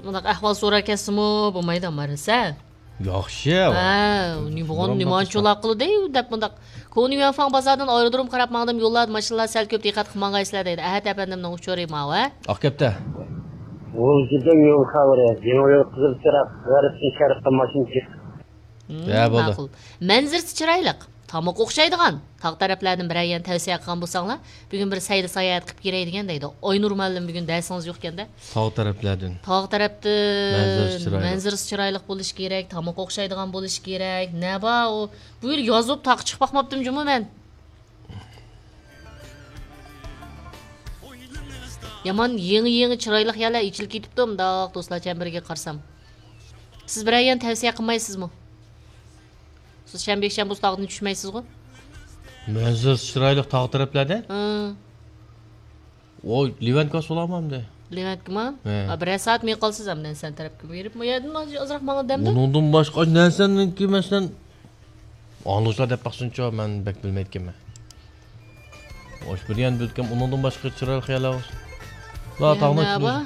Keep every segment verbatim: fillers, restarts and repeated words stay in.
مۇنداق ئەھۋال سوراپ كەتسىمۇ بولمايدۇ، مارىسە. ياخشى. ھە، نېمانچۇلاق قىلدى دەپ مۇنداق. كونى يۈەنفاڭ بازاردىن ئايرودروم قاراپ ماڭدىم، يوللاردا ماشىنىلار سەل كۆپ، دىققەت قىلمىغايسىلەر دەيدۇ. ئەھەت ئەپەندىمنىڭ ئۇچۇرى ماۋۇ، ھە؟ ئاقكەپتە. ۋۇلجىدىن يول خەۋىرى، يېڭى يول قىزىل چىراغ، غەربتىن شەرققە ماشىنا جىق. ھە، بولدى. ماقۇل. مەنزىرىسى چىرايلىق، تاماق ئوخشايدىغان، تاغ تەرەپلەردىن بىرەر يەرنى تەۋسىيە قىلغان بولساڭلار، بۈگۈن بىر سەيلە ساياھەت قىلىپ كىرەي دېگەن دەيدۇ. ئاينۇر مۇئەللىم بۈگۈن دەرسىڭىز يوق ئىكەندە. تاغ تەرەپلەردىن. تاغ تەرەپتىن. مەنزىرىسى چىرايلىق. مەنزىرىسى چىرايلىق بولۇشى كېرەك، تامىقى ئوخشايدىغان بولۇشى كېرەك. نە بار ئۇ؟ بۇ يىل يازۇپ تاغقا چىقىپ باقماپتىم جۇمۇ مەن. يامان يېڭى-يېڭى چىرايلىق يەرلەر ئېچىلىپ كېتىپتۇ، مۇنداق دوستلار چەمبىرىكىگە قارىسام. سىز بىرەر يەرنى تەۋسىيە قىلمايسىزمۇ؟ سىز شەنبە، يەكشەنبە بۇ تاغدىن چۈشمەيسىزغۇ؟ مەنزىرىسى چىرايلىق تاغ تەرەپلەردە؟ ھە. ئو، لېۋەنتكا سولامامدى. لېۋەنتكىما؟ ھە. ئا، بىرەر سائەت مېڭىپ قالىسىز ئەمدى نەنسەن تەرەپكە بېرىپ. مۇ يەردىن ئازراق ماڭا دەمدە. ئۇنىڭدىن باشقا نەنسەننىڭكى مەسىلەن، ئاڭلىغۇچىلار دەپ باقسۇنچۇ، مەن بەك بىلمەيدىكەنمەن. ئوش بىر يەنى بىلدىكەن، ئۇنىڭدىن باشقا چىرايلىق يەرلەر بار. لا، يەنە تاغنىڭ ئىچىدە بار؟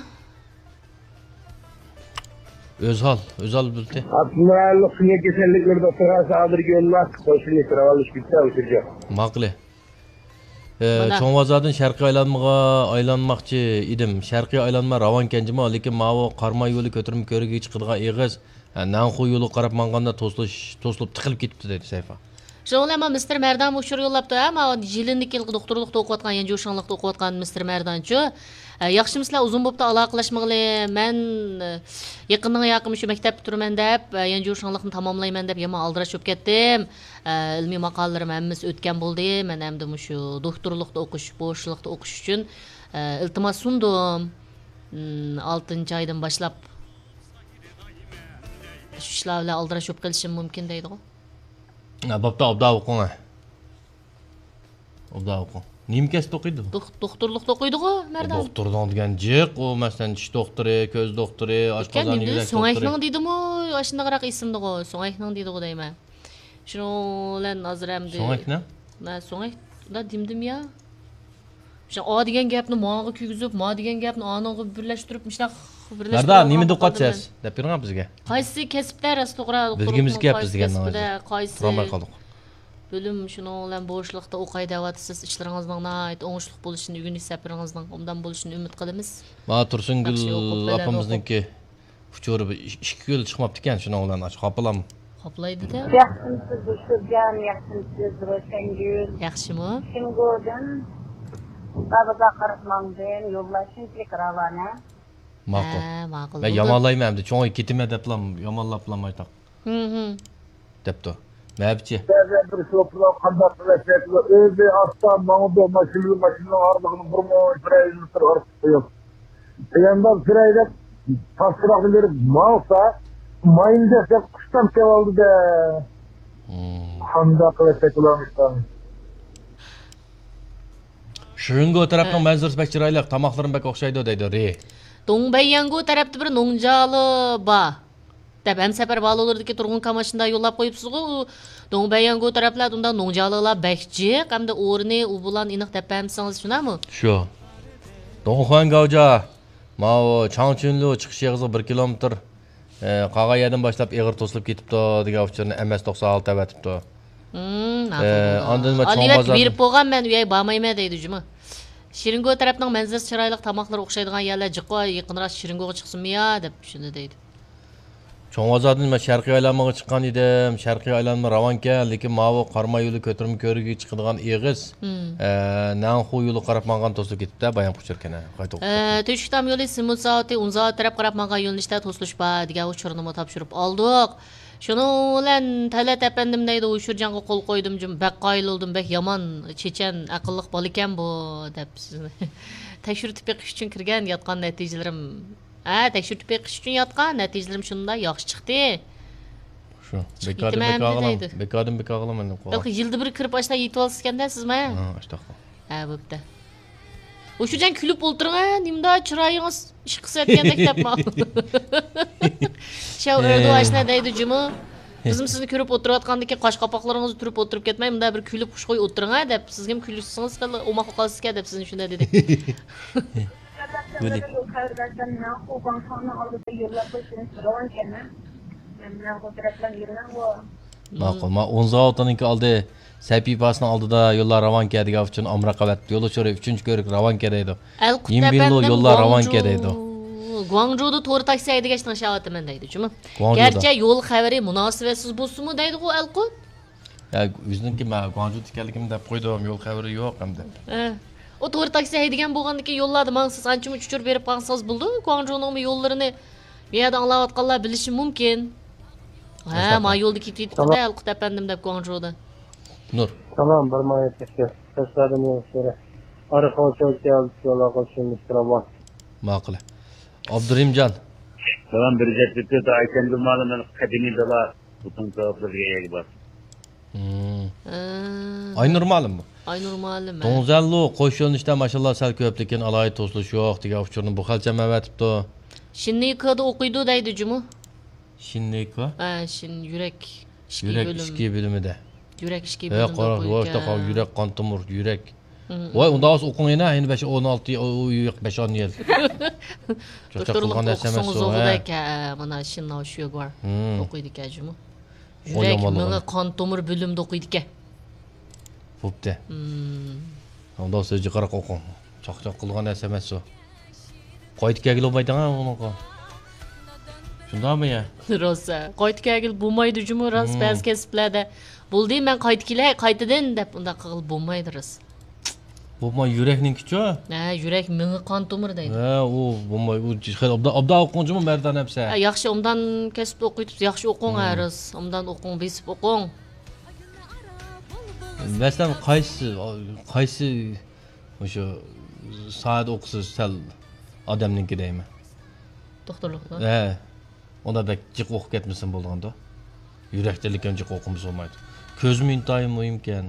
ئۆزھال، ئۆزھال بىلدى. ئابدۇللا سۈيە كېسەللىكلىرى دوختۇرخانىسى ھازىرگە يوللاپ، قوشۇنى كىرىۋالىش بىتتە ئۇچۇر يوق. ماقۇل. ئە، مانا. چوڭ بازاردىن شەرقىي ئايلانمىغا ئايلانماقچى ئىدىم. شەرقىي ئايلانما راۋانكەن جۇمۇ، لېكىن ماۋۇ قاراماي يولى كۆتۈرمە كۆۋرۈكىگە چىقىدىغان ئېغىز، ھە، نەنخۇ يولىغا قاراپ ماڭغاندا توسۇلۇش، توسۇلۇپ تىقىلىپ كېتىپتۇ، دەيدۇ سەيفا. شۇنىڭ بىلەن مانا مىستېر مەردانمۇ ئۇچۇر يوللاپتۇ، ھە، ماۋۇ يىلىندىكى يىلقى دوختۇرلۇقتا ئوقۇۋاتقان، يەنجۇ شاڭلىقتا ئوقۇۋاتقان مىستېر مەردانچۇ. ئە، ياخشىمۇسىلەر، ئۇزۇن بوپتۇ ئالاقىلەشمىغىلى. مەن، ئە، يېقىندىن ياقىن شۇ مەكتەپتە تۇرىمەن دەپ، ئە، يەنجۇ شاڭلىقنى تاماملايمەن دەپ يامان ئالدىراش بولۇپ كەتتىم. ئە، ئىلمىي ماقالىلىرىم ھەممىسى ئۆتكەن بولدى. مەن ئەمدى مۇشۇ دوختۇرلۇقتا ئوقۇش، بوشلۇقتا ئوقۇش ئۈچۈن، ئە، ئىلتىماس سۇندۇم. م، ئالتىنچى ئايدىن باشلاپ شۇ ئىشلار بىلەن ئالدىراش بولۇپ قېلىشىم مۇمكىن دەيدىغۇ. ھە، بوپتۇ، ئوبدان ئوقۇڭ، ھە. ئوبدان ئوقۇڭ. نېمە كەسىپتە ئوقۇيدۇ؟ دوخ-، دوختۇرلۇقتا ئوقۇيدىغۇ، مەردان. دوختۇرنىڭ دېگەن جىق، ئۇ، مەسىلەن، چىش دوختۇرى، كۆز دوختۇرى، ئاشقازان، يۈرەك دوختۇرى. سۆڭەكنىڭ دېدىمۇ، ئاشۇنداقراق ئېسىمدىغۇ، سۆڭەكنىڭ دېدىغۇ دەيمەن. شۇنىڭ بىلەن ھازىر ئەمدى. سۆڭەكنىڭ؟ مە، سۆڭەك، ئۇنداق دېمىدىم يا. شۇ ئا دېگەن گەپنى ماغا كىرگۈزۈپ، ما دېگەن گەپنى ئانىڭغا بىرلەشتۈرۈپ، مۇشۇنداق بىرلەشتۈرۈپ مەردان، نېمە ئوقۇۋاتىسىز؟ دەپ بېرىڭ بىزگە. قايسى كەسىپتە راست توغرا؟ بىلگۈمىز كەپ بىزگە، قايسى كەسىپتە، قايسى تۇرالماي قالدۇق. بۆلۈم، شۇنىڭ بىلەن بوشلۇقتا ئوقاي دەۋاتىسىز، ئىشلىرىڭىزنىڭ ناھايىتى ئوڭۇشلۇق بولۇشىنى، ئۆگىنىش سەپىرىڭىزنىڭ ئوبدان بولۇشىنى ئۈمىد قىلىمىز. مانا تۇرسۇنگۈل ئاپىمىزنىڭكى ئۇچۇرى بىر ئىككى، ئىككى كۈن چىقماپتىكەن، شۇنىڭ بىلەن ئاشۇ خاپىلام. خاپىلايدۇ-دە. ياخشىمۇسىز ئۇچۇرجان، ياخشىمۇسىز روشەنگۈل؟ ياخشىمۇ؟ شىنگودىن بابىغا قاراپ ماڭدىم، يوللار شۇنچىلىك راۋانە. ماقۇل. ھە، ماقۇل. مەن يامانلايمەن ئەمدى، چوڭ كېتىمەن دەپلا يامانلاپلا مايتاق. ھىم، ھىم. دەپتۇ. مەپچى. بەزى بىر شوپۇرلار قانداق قىلىپ ئۆزى ئاستا ماڭىدۇ، ماشىنا، ماشىنىنىڭ ئارىلىقىنى بىر مو-، بىر ئايلىنىپ تۇرۇپ ئارىلىق قويۇپ. قىياندا بىر ئايدەپ تاس تۇراقنى بېرىپ ماڭسا، ماينى دەسسەپ قۇشتان كېلىۋالدى-دە. ھىم. قانداق قىلىپ شەكىللەنمىسۇن؟ شىرىنگو تەرەپنىڭ ھە. مەنزىرىسى بەك چىرايلىق، تاماقلىرىمۇ بەك ئوخشايدۇ دەيدۇ رى. دۇڭبەييەنگو تەرەپتە بىر نوڭجالى بار. دەپ ھەمسەپەر بالىلىرىدىكى تۇرغۇن كاماشىندا يوللاپ قويۇپسىزغۇ، ئۇ دۇڭبەييەنگو تەرەپلەردە ئۇنداق نوڭجالىلار بەك جىق، ئەمدى ئورنى ئۇ بۇلان ئېنىق دەپ بەرمىسىڭىز شۇنداقمۇ؟ شۇ. دۇڭخۇەن گاۋجا، ماۋۇ چاڭچۈنلۇ چىقىش ئېغىزىغا بىر كىلومېتىر، ئە، قالغان يەردىن باشلاپ ئېغىر توسۇلۇپ كېتىپتۇ دېگەن ئۇچۇرنى ئەم ئەس توقسان ئالتە ئەۋەتىپتۇ. ھىم، ئە، ماقۇل. ئاندىن ما ئالىۋەت چوڭ بازار بېرىپ بولغان، مەن ئۇ يەرگە بارمايمەن دەيدۇ جۇمۇ. شىرىنگو تەرەپنىڭ مەنزىرىسى چىرايلىق، تاماقلىرى ئوخشايدىغان يەرلەر جىققۇ، يېقىنراق شىرىنگوغا چىقسىمۇ يا دەپ شۇنى دەيدۇ. چوڭ بازاردىن مەن شەرقىي ئايلانمىغا چىققان ئىدىم. شەرقىي ئايلانما راۋانكەن، لېكىن ماۋۇ قاراماي يولى كۆتۈرمە كۆۋرۈكىگە چىقىدىغان ئېغىز، ھىم. ئە، نەنخۇ يولىغا قاراپ ماڭغان توسۇلۇپ كېتىپتۇ، بايام قۇچۇر كەنە. قايتا ئوقۇپ ئە، تۆشۈكتام يولى سېمونت زاۋۇتى ئۇن زاۋۇتى تەرەپ قاراپ ماڭغان يۆنىلىشتە توسۇلۇش بار دېگەن ئۇچۇرنىمۇ تاپشۇرۇپ ئالدۇق. شۇنىڭ بىلەن تەلەت ئەپەندىم دەيدۇ، ئۇچۇرجانغا قول قويدۇم جۇمۇ، بەك قايىل بولدۇم، بەك يامان چېچەن، ئەقىللىق بالا ئىكەن بۇ، دەپ سىزنى تەكشۈرتۈپ بېقىش ئۈچۈن كىرگەن، ياتقان نەتىجىلىرىم. ھە، تەكشۈرتۈپ بېقىش ئۈچۈن ياتقان، نەتىجىلىرىم شۇنداق ياخشى چىقتى. شۇ، چىقىپ بېكاردىن كېتىمەن بىكار قىلىڭ، دەيدۇ. بېكاردىن بىكار قىلىڭ مەندىن قوغا. بەلكى يىلدا بىر كىرىپ ئاشۇنداق يېتىۋالسا ئىكەندە سىزمۇ، ھە؟ ھە، ئاشۇنداق. ھە، بوپتۇ. ئۇشۇجان كۈلۈپ ئولتۇرۇڭ، ھە، نېمىدا چىرايىڭىز ئىش قىلسا ئەتكەندەك دەپ ماڭا. شاۋ ئەردۇ ئاشنا دەيدۇ جۇمۇ. بىزمۇ سىزنى كۆرۈپ ئولتۇرۇۋاتقاندىكىن قاش قاپاقلىرىڭىزنى تۈرۈپ ئولتۇرۇپ كەتمەي، مۇندا بىر كۈلۈپ خۇشخۇي ئولتۇرۇڭ، ھە، دەپ سىزگىمۇ كۈلۈشسىڭىز خېلى ئوماق قالىسىكەن دەپ سىزنى شۇنداق دېدى. گۈلى. يول خەۋىرى بەرسەم، مەن خۇ گۇاڭچۇڭنىڭ ئالدىدا يوللاپ قويسىڭىز بولىدىغان ئىكەن. مەن، مەن خۇ تەرەپلەرنى يۈرمەڭ غۇ. ماقۇل. ما ئون زاۋۇتنىڭكى ئالدى سەھىپىسىنىڭ ئالدىدا يوللار راۋانكە دېگەن ئۈچۈن ئامراق ئەۋەتتى. يول ئۇچۇرى ئۈچىنچى كۆرۈك راۋانكە دەيدۇ. ئەلقۇت يىنبىنلۇ ئەپەندىم، يوللار راۋانكە گۇاڭجۇ-، دەيدۇ. گۇاڭجۇدا تور تاكسى ھەيدىگەچ تىڭشاۋاتىمەن دەيدۇ، جۇمۇ. گۇاڭجۇدا. گەرچە يول خەۋىرى مۇناسىۋەتسىز بولسىمۇ دەيدىغۇ ئەلقۇت. يا، ئۆزىنىڭكى مەن گۇاڭجۇدا ئىكەنلىكىمنى دەپ قويدۇم، يول خەۋىرى يوق ئەمدى. ئە. ئۇ تور تاكسى ھەيدىگەن بولغاندىكىن يوللاردا ماڭسىز، ئانچە-مۇنچە ئۇچۇر بېرىپ قالسىڭىز بولىدۇ. گۇاڭجۇنىڭمۇ يوللىرىنى بۇ يەردە ئاڭلاۋاتقانلار بىلىشى مۇمكىن. ھە، ئەسلىھە. ما يولدا كېتىۋېتىپتۇ-دە، ئەلقۇت ئەپەندىم دەپ گۇاڭجۇدا. نۇر. سالام، بىر ماڭا يەتكۈزگەن. تەسلىدىن يول سۈرە. ئارقا ئوچاق كەلدى، يول ئارقا شۇندىستىرا بار. ماقۇل. ئابدۇرېھىمجان. سالام، بىر جەپتە تۆت ئايكەندۇ مالىم، قەدىمىي دالا. بۇتۇن تاۋاپلىرىغا ئىگە بار. مم. ھە. ئاينۇر مالىم بۇ. ئاينۇر مالىم، ھە. دۇڭزەنلۇ قوش يۆنىلىشتە ماشاللا سەل كۆپ، لېكىن ئالاھىدە توسۇلۇش يوق دېگەن ئۇچۇرنى بۇ خەلچەم ئەۋەتىپتۇ. شىننىكودا ئوقۇيدۇ دەيدۇ جۇمۇ. شىننىكو؟ ھە، شىن-، يۈرەك ئىچكى يۈرەك بۆلۈم. ئىچكى بۆلۈمىدە. يۈرەك ئىچكى ھە، بۆلۈمدە قارا، ئوقۇيدۇ ۋاي، ئىكەن. تاقا، يۈرەك، قان تومۇر، يۈرەك. مم. ۋاي، ئۇنداق بولسا ئوقۇڭ يەنە، يەنە بەش، ئون ئالتە، ئۇ، ئۇ، يۈرەك بەش، ئون يىل. چاقچاق دوختۇرلۇق قىلغان نەرسە ئوقۇسىڭىز ئەمەس ئۇ، ئوقۇدۇ ھە. ئىكەن، ھە، مانا شىنناۋ شۈگۇر مم. ئوقۇيدۇ ئىكەن جۇمۇ. يۈرەك، مېڭە، قان تومۇر بۆلۈمىدە ئوقۇيدىكەن. بوپتۇ. مم. ئۇنداق سۆزگە قاراپ ئوقۇڭ. چاقچاق قىلغان نەرسە ئەمەس ئۇ. قايتا كەلگىلى بولمايدىغان ئۇنىڭغا. شۇنداقمۇ يا؟ راست، ھە. قايتا كەلگىلى بولمايدۇ جۇمۇ، راست، مم. بەزى كەسىپلەردە. بولدى، مەن قايتا كېلەي، قايتىدىن دەپ ئۇنداق قىلغىلى بولمايدۇ، راست. بولماي يۈرەكنىڭكىچۇ؟ ھە، يۈرەك، مېڭە، قان تومۇر دەيدۇ. ھە، ئۇ بولماي، ئۇ خېلى ئوبدان، ئوبدان ئوقۇڭ جۇمۇ، مەردان ئەمسە. ھە، ياخشى، ئوبدان كەسىپتە ئوقۇيتۇپسىز، ياخشى ئوقۇڭ، ھە، مم. راست. ئوبدان ئوقۇڭ، بېسىپ ئوقۇڭ. مەسىلەن، قايسى، قايسى مۇشۇ ساھەدە ئوقۇسىز سەل ئادەمنىڭكى دەيمەن. دوختۇرلۇقتا؟ ھە. ئۇندا بەك جىق ئوقۇپ كەتمىسىمۇ بولىدىغاندۇ. يۈرەكتىنلىكەن جىق ئوقۇمىسا بولمايدۇ. كۆزمۇ ئىنتايىن مۇھىمكەن.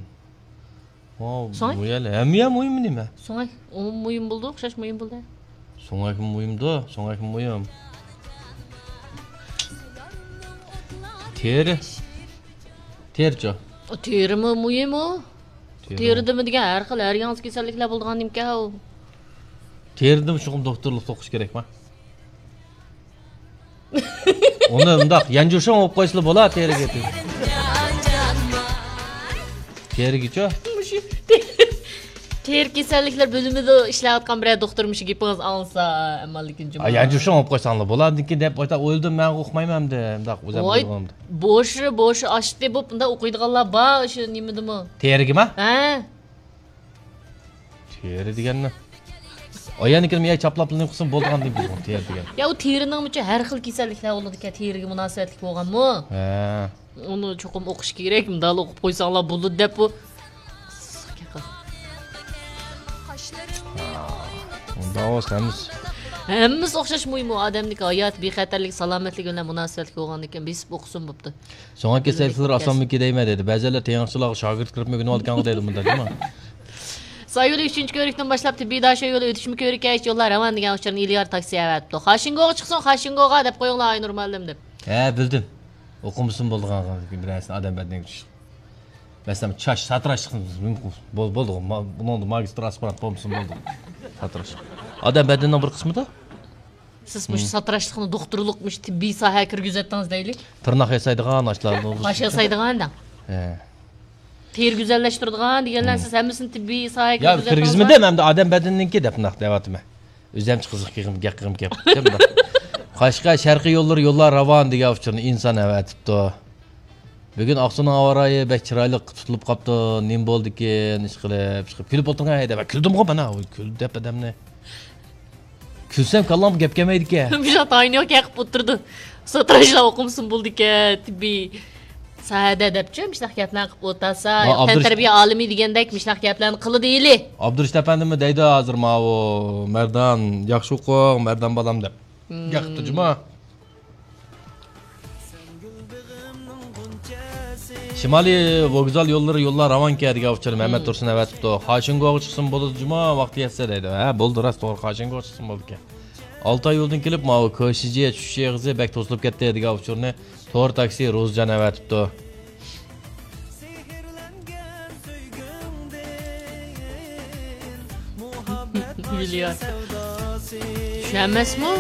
ھە، سۆڭەك؟ بۇ يەر ھەممە يەر مۇھىم نېمە؟ سۆڭەك ئۇمۇ مۇھىم بولىدۇ، ئوخشاش مۇھىم بولىدۇ. سۆڭەكمۇ مۇھىمدۇ، سۆڭەكمۇ مۇھىم. تېرە. تېرىچۇ؟ تېرىمۇ مۇھىم ئۇ. تېرە. تېرىدىمۇ دېگەن ھەر خىل، ھەر ياڭزا كېسەللىكلەر بولىدىغان نېمىكەن ئۇ. تېرىدىمۇ شۇقۇم دوختۇرلۇق توقۇش كېرەكما؟ ئۇنى ئۇنداق يانجۇشۇڭ بولۇپ قويسىلا بولا تېرىگە. تېرىگىچۇ؟ مۇشۇ تېرە كېسەللىكلەر بۆلۈمىدە ئىشلەۋاتقان بىرەر دوختۇر مۇشۇ گېپىڭىزنى ئاڭلىسا، ئەمما لېكىن جۇمۇ. يانجۇشۇڭ بولۇپ قويساڭلا بولامدىكىن دەپ ئويلاپ ئويلىدىم، مەن ئۇقمايمەن ئەمدى. مۇنداق ئۆزۈم ۋاي، بولغاندا. بوشى، بوشى ئاشتى بوپ، مۇنداق ئوقۇيدىغانلار بار، شۇ نېمىدىمۇ؟ تېرىگىما؟ ھە. تېرە دېگەننى. ئايەننىكىنى يا چاپلاپ نېمە قىلسۇن بولىدىغان دېدى بۇ تېرە دېگەن. يا، ئۇ تېرىنىڭمۇچە ھەر خىل كېسەللىكلەر بولىدىكەن، تېرىگە مۇناسىۋەتلىك بولغانمۇ؟ ھە. ئۇنى چوقۇم ئوقۇش كېرەك، مۇنداقلا ئوقۇپ قويساڭلار بولىدۇ دەپ بۇ. ئۇنداق بولسا ھەممىسى. ھەممىسى ئوخشاش مۇھىم، ئۇ ئادەمنىڭكى ھاياتى، بىخەتەرلىك، سالامەتلىكى بىلەن مۇناسىۋەتلىك بولغاندىكىن بېسىپ ئوقۇسۇن بوپتۇ. سۆڭەك كېسەللىكلىرى ئاسانمۇ كېدەيمەن دەيدۇ. بەزىلەر تېڭىقچىلارغا شاگىرت كىرىپمۇ ئۆگىنىۋالىدىكەنغۇ دەيدۇ مۇنداق، جۇمۇ. سايولى ئۈچىنچى كۆۋرۈكتىن باشلاپ تېببىي داشۆ يولى ئۆتۈشمە كۆۋرۈككەچ يوللار راۋان دېگەن ئۇچۇرنى ئېلىيار تاكسى ئەۋەتىپتۇ. خاشىنگوغا چىقسۇن، خاشىنگوغا دەپ قويۇڭلار ئاينۇر مۇئەللىم دەپ. ھە، بىلدىم. ئوقۇمىسىمۇ بولىدىغان بىر نەرسىنى ئادەم بەدىنىگە چۈشۈپ. مەسىلەن، چاچ ساتىراشلىق بول-، بولدىغۇ. ما-، بۇنىڭدا ماگىستر ئاسپىرانت بولمىسىمۇ بولدى. ساتىراشلىق. ئادەم بەدىنىنىڭ بىر قىسمىدا. سىز مۇشۇ ساتىراشلىقنى دوختۇرلۇق، مۇشۇ تېببىي ساھەگە كىرگۈزۈۋەتتىڭىز دەيلى. تىرناق ياسايدىغان ئاشلار. قاش ياسايدىغان دەڭ. ھە. تېرە گۈزەللەشتۈرىدىغان دېگەنلەر، سىز ھەممىسىنى تېببىي ساھەگە يا، كىرگۈزۈۋەتتىڭىزمۇ؟ كىرگۈزمىدىم، ئەمدى ئادەم بەدىنىنىڭكى دەپ ناق دەۋاتىمەن. ئۆزۈمچە قىزىق كېغىم، گەپ قىغىم كەپ. قاشقەر شەرقىي يوللىرى يوللار راۋان دېگەن ئۇچۇرنى ئىنسان ئەۋەتىپتۇ. بۈگۈن ئاقسۇنىڭ ھاۋا رايى بەك چىرايلىق تۇتۇلۇپ قاپتۇ. نېمە بولدىكىن؟ ئىشقىلىپ، ئىشقىلىپ كۈلۈپ ئولتۇرغان ھەيدە. مەن كۈلدۈمغۇ مانا، كۈل دەپ ئادەمنى. كۈلسەم كاللامغا گەپ كەلمەيدىكەن. مۇشۇنداق تايىنى يوق گەپ قىلىپ ئولتۇرىدۇ. ساتىراشلار ئوقۇمىسىمۇ بولىدىكەن، تېببىي ساھەدە دەپچۇ، مۇشۇنداق گەپلەرنى قىلىپ ئولتۇرسا، ما، يوق، ئابدۇرۇش-، تەنتەربىيە ئالىمى دېگەندەك مۇشۇنداق گەپلەرنى قىلىدۇ ھېلى. ئابدۇرېشىت ئەپەندىمۇ دەيدۇ ھازىر ماۋۇ، مەردان، ياخشى ئوقۇڭ، مەردان بالام دەپ. مم. گەپ قىپتۇ جۇما. شىمالىي ۋوگزال يوللىرى يوللار راۋانكەن دېگەن ئۇچۇرنى مەمەت تۇرسۇن ئەۋەتىپتۇ. خاشىنگوغا چىقسىمۇ بولىدۇ جۇما، ۋاقتى يەتسە دەيدۇ. ھە، بولدى، راست، توغرا، خاشىنگوغا چىقسىمۇ بولىدىكەن. ئالتاي يولىدىن كېلىپ، ماۋۇ كوشىجى چۈشۈش ئېغىزى بەك توسۇلۇپ كەتتى دېگەن ئۇچۇرنى تور تاكسى روزجان ئەۋەتىپتۇ. مىليارد. شۇ ئەمەسمۇ؟